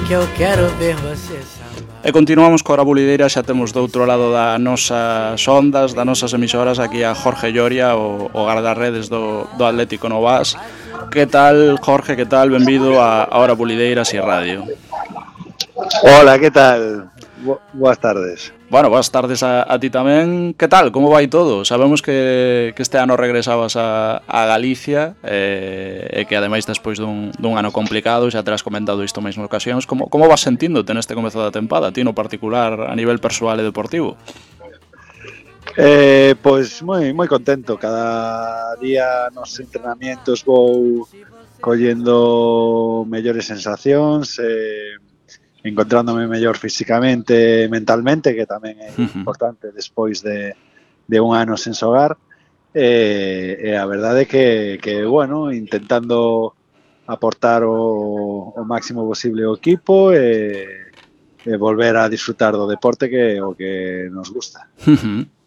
que eu quero ver você sambar. E continuamos coa Bulideira, xa temos do outro lado das nosas ondas, das nosas emisoras, aquí a Jorge Lloria, o guardarredes do Atlético Novas. Que tal, Jorge, que tal? Benvido a Hora Bulideira e Radio. Hola, que tal? Boas tardes. Bueno, boas tardes a ti tamén. Que tal? Como vai todo? Sabemos que este ano regresabas a Galicia e que ademais despois dun ano complicado, xa terás comentado isto mesmo en ocasións. Como vas sentíndote neste comezo da tempada, ti no particular a nivel persoal e deportivo? Pois moi contento. Cada día nos entrenamientos vou collendo mellores sensacións, encontrándome mellor físicamente e mentalmente, que tamén é importante despois de un ano sen xogar, e a verdade é que bueno, intentando aportar o máximo posible ao equipo e volver a disfrutar do deporte, que é o que nos gusta.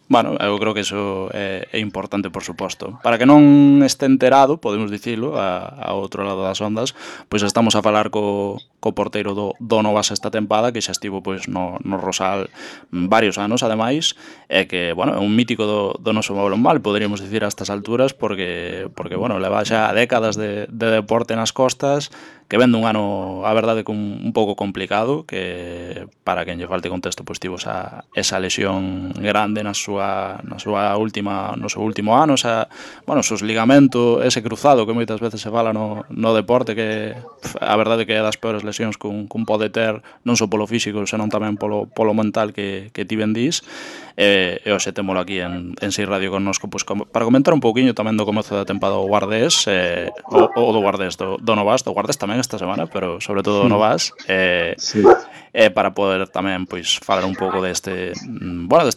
Bueno, eu creo que iso é importante, por suposto. Para que non este enterado, podemos dicilo, a outro lado das ondas, pois estamos a falar co porteiro do Novas esta tempada, que xa estivo pois no Rosal varios anos, ademais, e que, bueno, é un mítico do noso balonmán, poderíamos dicir a estas alturas, porque bueno, leva xa décadas de deporte nas costas, que vende un ano, a verdade, un pouco complicado, que para quen lle falte contexto, pois tivo esa lesión grande no seu último ano, bueno, os ligamentos, ese cruzado que moitas veces se fala no deporte, que a verdade que é das peores lesións que un pode ter, non só polo físico, senón tamén polo mental que ti ben dís. E hoxe témolo aquí en Sei Radio connosco, pois, para comentar un pouquiño tamén do comezo da tempada do Guardés, o do Guardés, do Novas, do Guardés tamén esta semana, pero sobre todo do Novas, Sí. Para poder tamén pois falar un pouco deste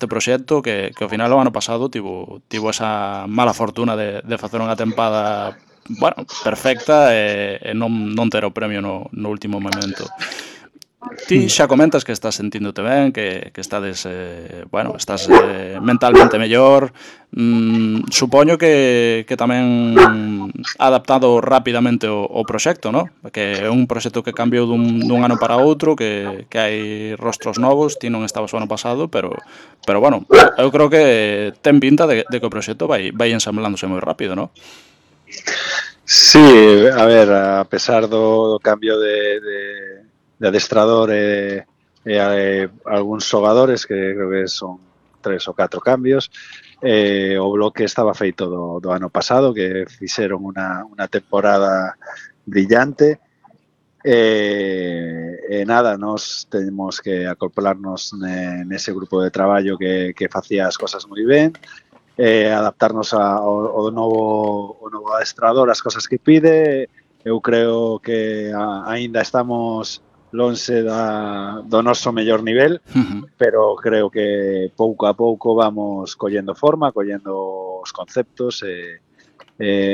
proxecto que ao final o ano pasado tivo esa mala fortuna de facer unha tempada, bueno, perfecta e non ter o premio no último momento. Ti xa comentas que estás sentíndote ben, que estades, estás mentalmente mellor. Supoño que tamén adaptado rapidamente o proxecto, ¿no? Que é un proxecto que cambiou dun ano para outro, que hai rostros novos, ti non estabas o ano pasado, pero bueno, eu creo que ten pinta de que o proxecto vai ensamblándose moi rápido, ¿no? Sí, a ver, a pesar do cambio de adestrador e algúns xogadores, que creo que son 3 ou 4 cambios, o bloque estaba feito do ano pasado, que fixeron unha temporada brillante, e nada, nos temos que acoplarnos nese grupo de traballo que facía as cosas moi ben, adaptarnos ao novo adestrador, as cosas que pide. Eu creo que aínda estamos lonxe do noso mellor nivel, pero creo que pouco a pouco vamos collendo forma, collendo os conceptos,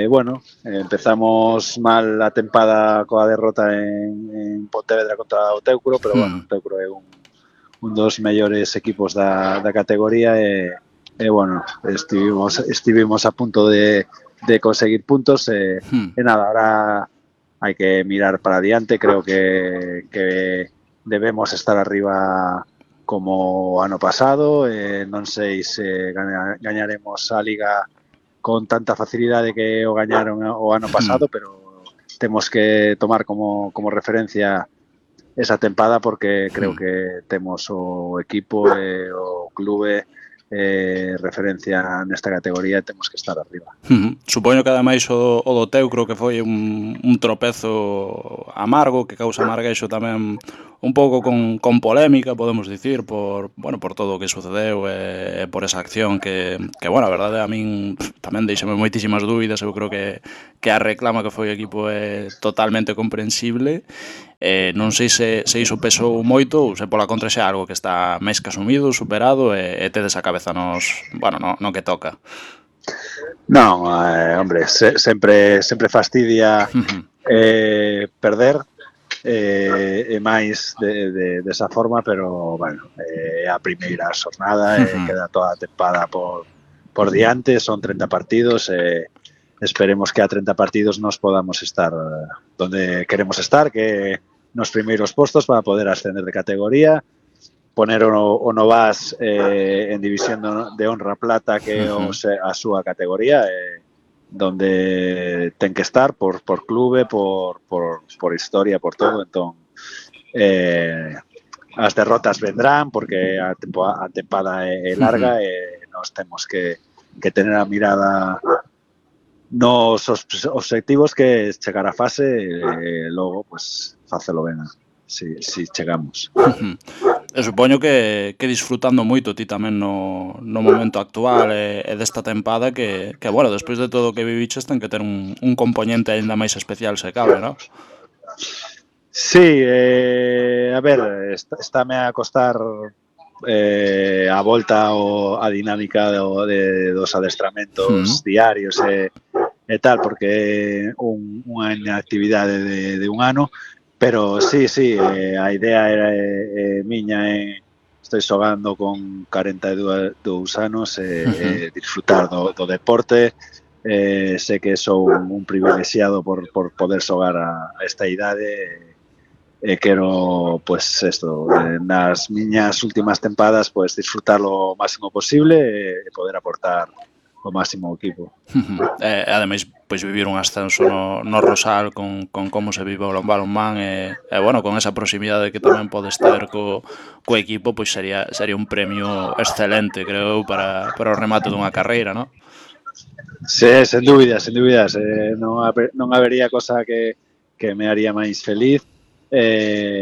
bueno, empezamos mal a tempada coa derrota en Pontevedra contra o Teucro, pero bueno, o Teucro é un dos mellores equipos da categoría, e bueno, estivemos a punto de conseguir puntos, e nada, ahora hai que mirar para adiante. Creo que debemos estar arriba como ano pasado, non sei se gañaremos a Liga con tanta facilidade que o gañaron o ano pasado, pero temos que tomar como referencia esa tempada, porque creo que temos o equipo e o clube referencia nesta categoría, temos que estar arriba. Supoño que ademais o do Teucro, que foi un tropezo amargo, que causa amarguexo tamén un pouco con polémica, podemos dicir, por todo o que sucedeu e por esa acción que bueno, a verdade, a min tamén deixame moitísimas dúbidas. Eu creo que a reclama que foi o equipo é totalmente comprensible. Non sei se iso pesou moito ou se pola contra xa algo que está máis que asumido, superado, e tedes a cabeza no que toca. Non, hombre, sempre fastidia perder, e máis desa forma, pero bueno, é a primeira xornada, queda toda a tempada por diante, son 30 partidos, esperemos que a 30 partidos nos podamos estar donde queremos estar, que nos primeiros postos para poder ascender de categoría, poner o Novas en división de honra plata, que é a súa categoría, donde ten que estar por clube, por historia, por todo. Entón, as derrotas vendrán porque a tempada é larga e nos temos que tener a mirada nos obxectivos, que chegar a fase e logo pues facelo ben si chegamos. E supoño que disfrutando moito ti tamén no momento actual e desta tempada que, bueno, despois de todo o que viviches ten que ter un componente aínda máis especial se cabe, non? Sí, a ver, estáme a costar a volta a dinámica dos adestramentos diarios e tal, porque é unha inactividade de un ano, pero sí, a idea era miña estou xogando con 42 anos e disfrutar do deporte. Sei que sou un privilexiado por poder xogar a esta idade e quero, pues, esto, nas miñas últimas tempadas, pues, disfrutar o máximo posible e poder aportar o máximo ao equipo. Ademais, pois vivir un ascenso no Rosal con como se vive o balonmán e bueno, con esa proximidade que tamén podes ter co equipo, pois sería un premio excelente, creo eu, para o remate dunha carreira, non? Sí, sen dúbidas. Non habería cosa que me haría máis feliz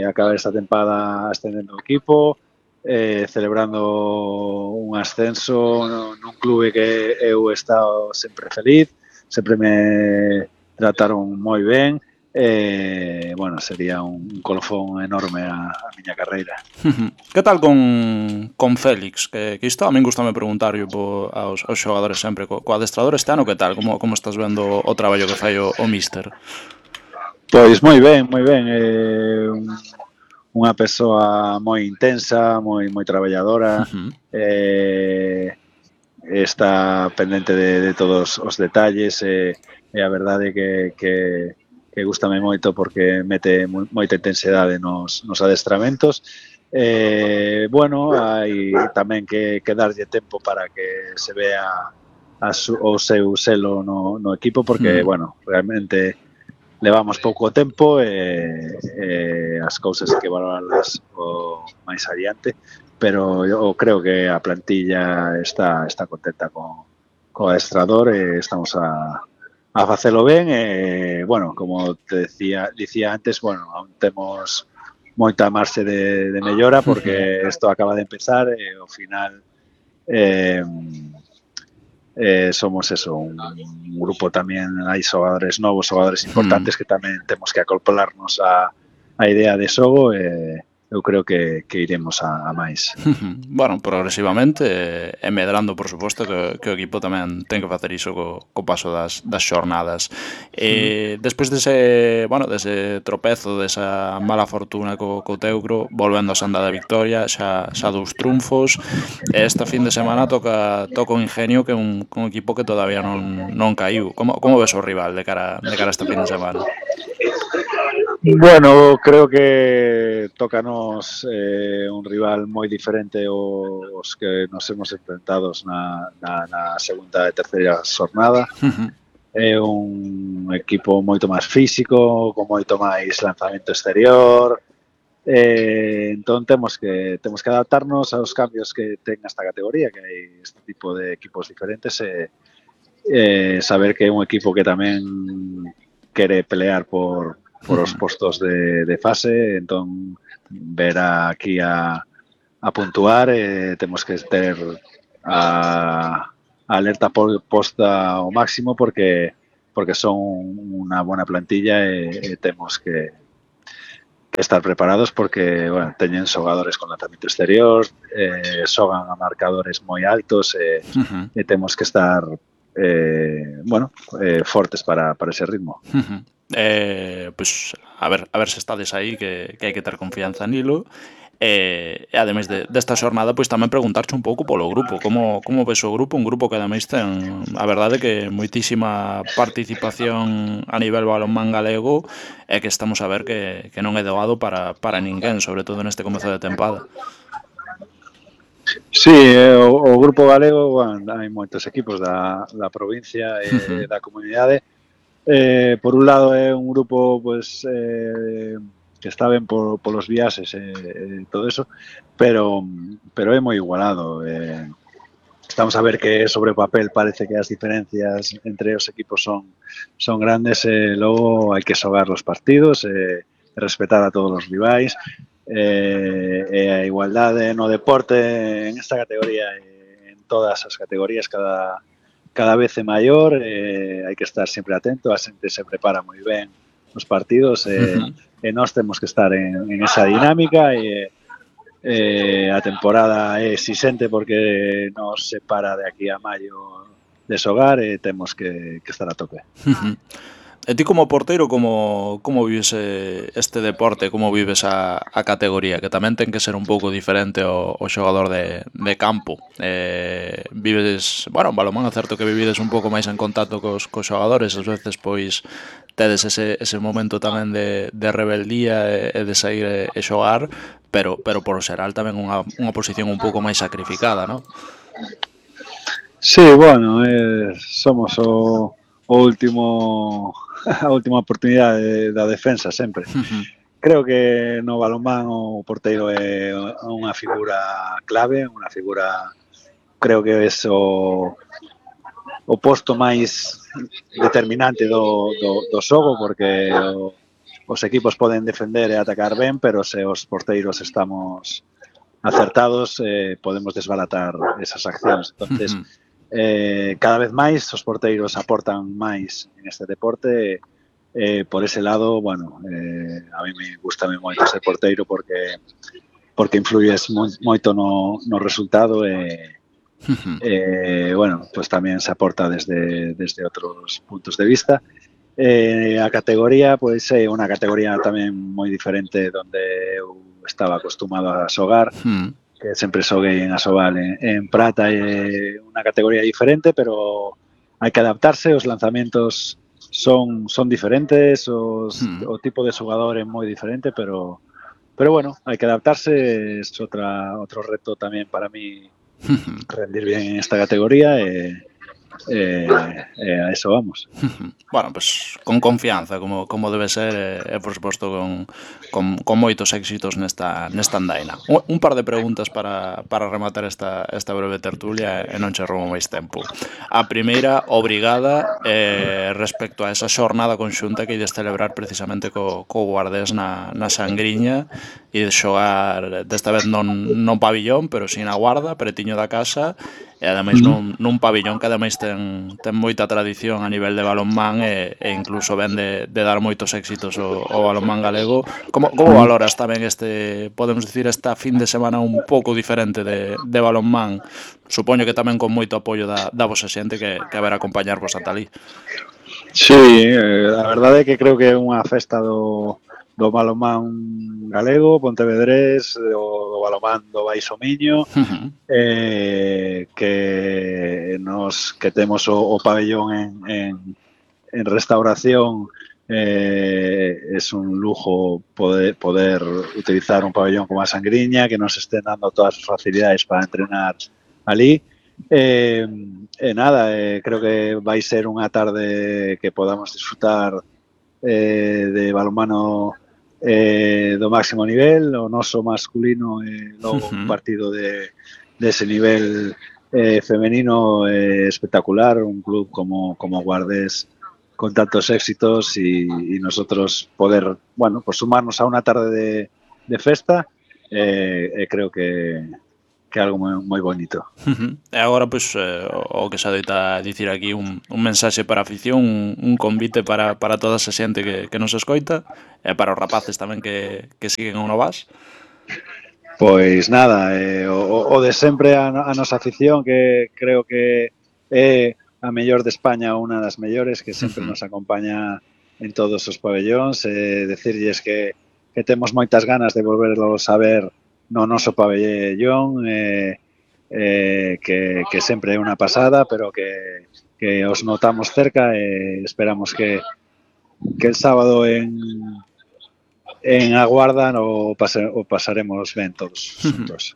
acabar esta tempada ascendendo o equipo, celebrando un ascenso nun clube que eu he estado sempre feliz, sempre me trataron moi ben. Bueno, sería un colofón enorme a miña carreira. Que tal con Félix? Que isto a min gustame preguntarlo aos xogadores sempre. Co adestrador este ano, que tal? Como estás vendo o traballo que fai o míster? Pois moi ben. Unha persoa moi intensa, moi traballadora, está pendente de todos os detalles e a verdade que gustame moito porque mete moita intensidade nos adestramentos. Bueno, hai tamén que darlle tempo para que se vea o seu selo no equipo, porque, bueno, realmente levamos pouco tempo e as cousas hai que valorarlas máis adiante, pero eu creo que a plantilla está contenta co adestrador e estamos a facelo ben e, bueno, como te dicía antes, bueno, aún temos moita marxe de mellora porque isto acaba de empezar e ao final somos un grupo tamén, hai xogadores novos, xogadores importantes que tamén temos que acoplarnos a idea de xogo e eu creo que iremos a máis. Bueno, progresivamente e medrando, por suposto, que o equipo tamén ten que facer iso co paso das xornadas. Despois dese tropezo, desa mala fortuna co Teucro, volvendo a senda da victoria, xa 2 triunfos, e esta fin de semana toca o Ingenio, que é un equipo que todavía non caiu. Como ves o rival de cara a esta fin de semana? Bueno, creo que tócanos un rival moi diferente aos que nos hemos enfrentados na segunda e terceira xornada. É un equipo moito máis físico, con moito máis lanzamento exterior. Entón temos que adaptarnos aos cambios que ten esta categoría, que hai este tipo de equipos diferentes e saber que é un equipo que tamén quere pelear por os postos de fase, entón ver aquí a puntuar, temos que ter a alerta posta ao máximo porque son unha bona plantilla e temos que estar preparados porque, bueno, teñen xogadores con lanzamento exterior, xogan a marcadores moi altos e temos que estar fortes para ese ritmo. Pois a ver se estades aí, que hai que ter confianza nilo. ademais desta xornada, pois tamén preguntarche un pouco polo grupo, como ves o grupo, un grupo que ademais ten, a verdade que moitísima participación a nivel balonmán galego e que estamos a ver que non é doado para ninguén, sobre todo neste comezo de tempada. Sí, o grupo galego, bueno, hai moitos equipos da provincia e da comunidade. Por un lado é un grupo pues, que está ben polos viaxes e todo eso, pero é moi igualado. Estamos a ver que sobre o papel parece que as diferencias entre os equipos son grandes e logo hai que xogar os partidos e respetar a todos os rivais e a igualdade no deporte en esta categoría e en todas as categorías cada vez é maior, hai que estar sempre atento, a xente se prepara moi ben os partidos e nós temos que estar en esa dinámica e a temporada é exixente porque nos separa de aquí a maio de xogar e temos que estar a tope. E ti como porteiro, como vives este deporte, como vives a categoría, que tamén ten que ser un pouco diferente o xogador de campo. Vives, bueno, en balonmán é certo que vivides un pouco máis en contacto cos xogadores, ás veces pois tedes ese momento tamén de rebeldía e de sair e xogar, pero por xeral tamén unha posición un pouco máis sacrificada, non? Sí, bueno, somos o último a última oportunidade da defensa sempre. Creo que no balonmán o porteiro é unha figura clave, unha figura, creo que é o posto máis determinante do xogo, porque os equipos poden defender e atacar ben, pero se os porteiros estamos acertados, podemos desbaratar esas accións. Entonces, cada vez máis os porteiros aportan máis en este deporte. Por ese lado, bueno, a mí me gusta moito ser porteiro porque influyes moito no resultado bueno, pues tamén se aporta desde outros puntos de vista. A categoría, pois é unha categoría tamén moi diferente donde eu estaba acostumado a xogar, que sempre xoguei en Asobal en prata, é unha categoría diferente, pero hai que adaptarse, os lanzamentos son diferentes, o tipo de xogador é moi diferente, pero bueno, hai que adaptarse, é outro reto tamén para mí rendir bien en esta categoría e a eso vamos. Bueno, pues con confianza, como debe ser, e por suposto con moitos éxitos nesta andaina. Un par de preguntas para rematar esta breve tertulia e non che roubo máis tempo. A primeira, obrigada respecto a esa xornada conxunta que ides celebrar precisamente co Guardés na Sangriña e de xogar desta vez non pabillón, pero sin a Guarda, pretiño da casa, e ademais nun pabillón que ademais ten moita tradición a nivel de balonmán e incluso ven de dar moitos éxitos o balonmán galego. Como valoras tamén podemos dicir, esta fin de semana un pouco diferente de balonmán? Supoño que tamén con moito apoio da vosa xente que haberá acompañarvos ata ali. Sí, a verdade é que creo que é unha festa do balonmán galego, pontevedrés, do balonmán do Baixo Miño, que temos o pabellón en restauración. Es un lujo poder utilizar un pabellón como a Sangriña, que nos estén dando todas as facilidades para entrenar ali. Nada, creo que vai ser unha tarde que podamos disfrutar de balonmano do máximo nivel, o noso masculino e logo un partido de ese nivel femenino espectacular, un club como Guardés con tantos éxitos y nosotros poder, bueno, pues sumarnos a unha tarde de festa, creo que é algo moi bonito. E agora, pois, o que se adoita dicir aquí, un mensaxe para a afición, un convite para toda esa xente que nos escoita, e para os rapaces tamén que siguen o Novas. Pois nada, o de sempre a nosa afición, que creo que é a mellor de España, unha das mellores, que sempre nos acompaña en todos os pabellóns, decirlles que temos moitas ganas de volverlos a ver no noso pabellón, que sempre é unha pasada, pero que os notamos cerca e esperamos que el sábado en Aguarda o pasaremos ben todos xuntos.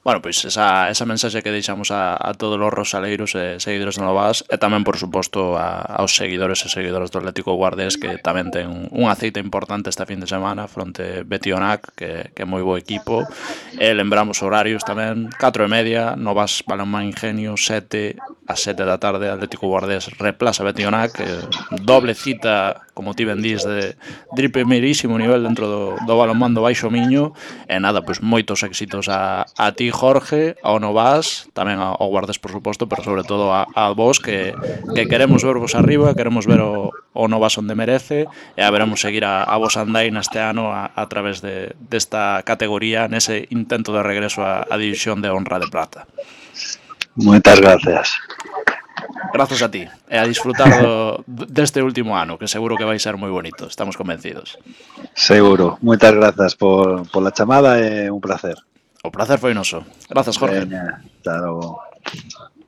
Bueno, pois esa mensaxe que deixamos a todos os rosaleiros e seguidores do Novas e tamén, por suposto, aos seguidores e seguidoras do Atlético Guardés, que tamén ten unha cita importante esta fin de semana fronte Betionac, que é moi bo equipo. E lembramos horarios tamén, 4:30, Novas Balonmán Ingenio, 7 a 7 da tarde, Atlético Guardés replaza Betionac, doble cita, como ti ben dís, de primeirísimo nivel dentro do balonmán do Baixo Miño. E nada, pois moitos éxitos a ti, Jorge, ao Novas, tamén ao Guardés, por suposto, pero sobre todo a vos, que queremos vervos arriba, queremos ver o Novas onde merece, e haberemos seguir a vos andai neste ano a través desta categoría, nese intento de regreso a División de Honra de Plata. Moitas gracias. Grazas a ti, e a disfrutar deste último ano, que seguro que vai ser moi bonito, estamos convencidos. Seguro. Moitas grazas pola chamada e un placer. O placer foi noso. Grazas, Jorge. Veña, hasta logo.